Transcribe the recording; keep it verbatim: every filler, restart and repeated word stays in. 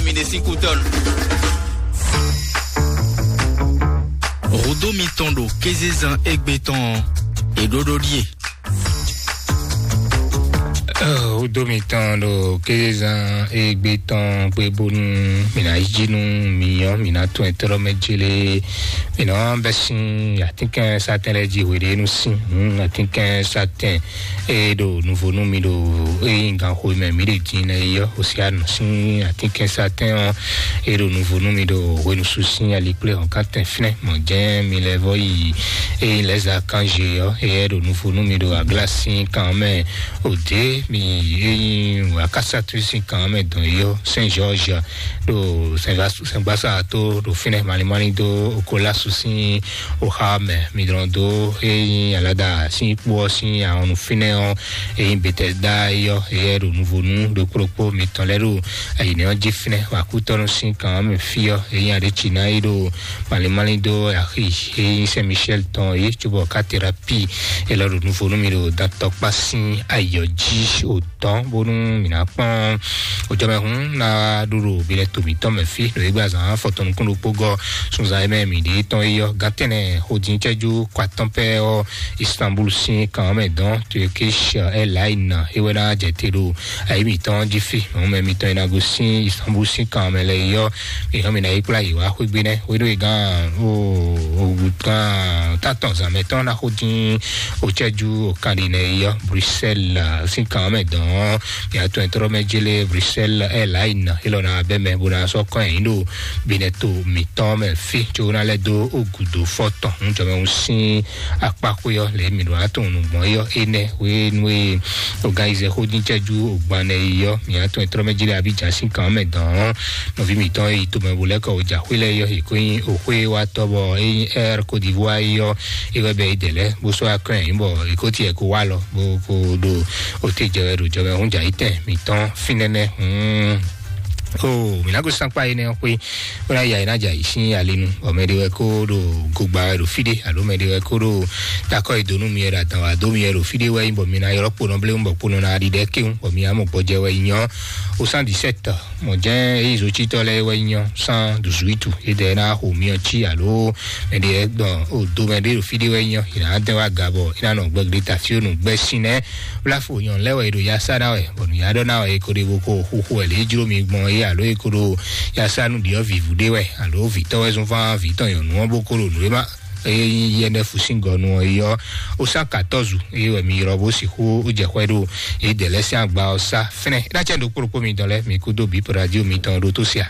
Mi ɖe sín kú tɔn. Hudó mitɔn ɖo kézezán égbé tɔn ɔ́, è ɖó ɖó ɖíe. Hudó mitɔn ɖo kézezán égbé tɔn gbé bónú mǐ ná yí jí nú mǐ ɔ́, mǐ ná tún ɛtɔ́ mɛ jélé. Mǐ nɔ bɛ́ sín atínkɛnsatɛn lɛ́ɛ jí hweɖénu sín, atínkɛnsatɛn e ɖo nuvo nú mi ɖo ényí ganxo e mɛ mǐ ɖe din lɛ́ɛ é ɔ́, Hosianu sín atínkɛnsatɛn ɔ́, e ɖo nuvo nú mi ɖo hwenusu sín alikplé hɔ̌nkántɛn fínɛ́. Mɔ̌ jɛ́n mi lɛ́ vɔ́ yi ényí lɛ̌za kanzé ɔ́, éyɛ́ ɖo nuvo nú mi ɖo aglá sín kan mɛ. Òdě mi ényí akásatú sín kan mɛ dɔn é ɔ́, Saint Georges ɖo sɛngbasá tó ɖo fínɛ́, malín malín dó Okolásu sín oxa mɛ. Mi dlɔn dó ényí alada sín kpó ɔ́ sín ahɔnnu fínɛ́ ɔ́, ényí Betɛsda é ɔ́, éyɛ́ ɖo nuvonu ɖokpóɖokpó mitɔn lɛ́ɛ ɖo ayǐnɛ́ ɔ́ jí fínɛ́. Wakútɔ́nú sín kan mɛ fí ɔ́, ényí aɖéciná é ɖo malín malín dó axi ényí Saint Michel tɔn é, cóbɔ katerapi é lɔ ɖo nuvonu mi ɖo dantɔkpá sín ayɔ jí o dɔn bónú mǐ ná kpɔ́n ojɔmɛhún ná ɖó ɖo bilɛ to mǐtɔn mɛ fí ɖo égbé azǎn afɔtɔn nukún ɖokpó gɔ́ sunzan e mɛ mǐ ɖe tɔn é yɔ gantɛnɛ xodin cɛjú kɔ atɔn pɛ ɔ́, Istanbul sín kan mɛ dɔn Turkish Airlines é wɛ ná jɛ te ɖo ayi mǐtɔn jí fí. Mɔ̌ mɛ mitɔn e ná gosín Istanbul sín kan mɛ lɛ́ɛ yɔ mǐ hɔn mǐ ná yi kplá yě wá xwé gbe nɛ́ hwéɖó e gán o o gán tatɔn zǎn mɛ tɔn ná xodin o cɛjú o kan ɖi nɛ é yɔ Bruxelles sín kan mɛ dɔn mǐ atɔn ɛtrɔ mɛ jélé Bruxelles Airlines é lɔ ná bɛ mɛ bó ná sɔ́ kɔn ɛ yín ɖo binɛ to mǐtɔn mɛ fí có ná lɛ́ dó o gǔdo fɔ tɔn ŋjɔmɛ sín akpákó yɔ lě mǐ ɖo atɔn nǔgbɔn yɔ énɛ́ hwenu e organize xodin cɛjú o gban nɛ yɔ mǐ atɔn ɛtrɔ mɛ jélé Abidjan sín kan mɛ dɔn nɔví mǐtɔn e yi tomɛ bo lɛ́ kɔ o jǎxwé lɛ́ɛ yɔ è ko nyí o xwé wa tɔ́ bɔ é nyí Air Côte d'Ivoire yɔ é wɛ bɛ é dɛ lɛ́ bó sɔ́ akɔn ɛ nyí bɔ è ko tiɛ ko wá lɔ bó ko ɖo o te jɛ wɛ ɖo jɔ wɛ hún jà yi tɛn mǐtɔn fínɛ́nɛ́ hún. O mǐ ná ko sankpa énɛ́ ɔ́ xwé bó ná ya é ná jà yi sín alinu bɔ mɛ ɖé wɛ kó ɖo gogba wɛ ɖo fí ɖé alo mɛ ɖé wɛ kó ɖo takɔ yi dó nú mi wɛ ɖo adǎn wá dó mi wɛ ɖo fí ɖé wɛ nyí bɔ mi ná ylɔ́ kponɔ bléwún bɔ kponɔ ná ɖi ɖɛ kéwún bɔ mi ná mɔ gbɔjɛ wɛ yi nyɔ o cent dix-sept. Mɔ̌ jɛ́n ényí zocitɔ́ lɛ́ɛ wɛ nyí ɔ́, cent dix-huit é ɖɛ ná xo myɔ cí alo mɛ ɖé gbɔn o do mɛ ɖé ɖo fí ɖé wɛ nyí ɔ́, è nǎ dɛn wá ga bɔ é ná nɔ gbɛgbɛ ta fí ó nǔ gbɛ sín nɛ́. Wláfo nyɔ lɛ́ wɛ è ɖo ya sá ná wɛ, bɔ nǔ ya ɖɔ ná wɛ è ko ɖe bo ko xixo wɛ lě jló mi gbɔn é alo è ko ɖo ya sá nú ɖiɔ́ vǐvú ɖé wɛ, alo vǐtɔ́ wɛ zɔ́n fán vǐ tɔn nyɔ̌nu ɔ́ bó ko ɖo nǔ e ma eye yɛnɛ fusingɔnu ɔ́ yi ɔ́, ó sá katɔ́zu eye wɛ mi ylɔ́ bó sixú ó jɛ xwɛ ɖo yě dɛ lɛ́ sín agba ɔ́ sá fɛnɛ. É ná cɛ ɖokpó ɖokpó mitɔn lɛ́ɛ mi kúdó bǐ radio mitɔn ɖó tó sia.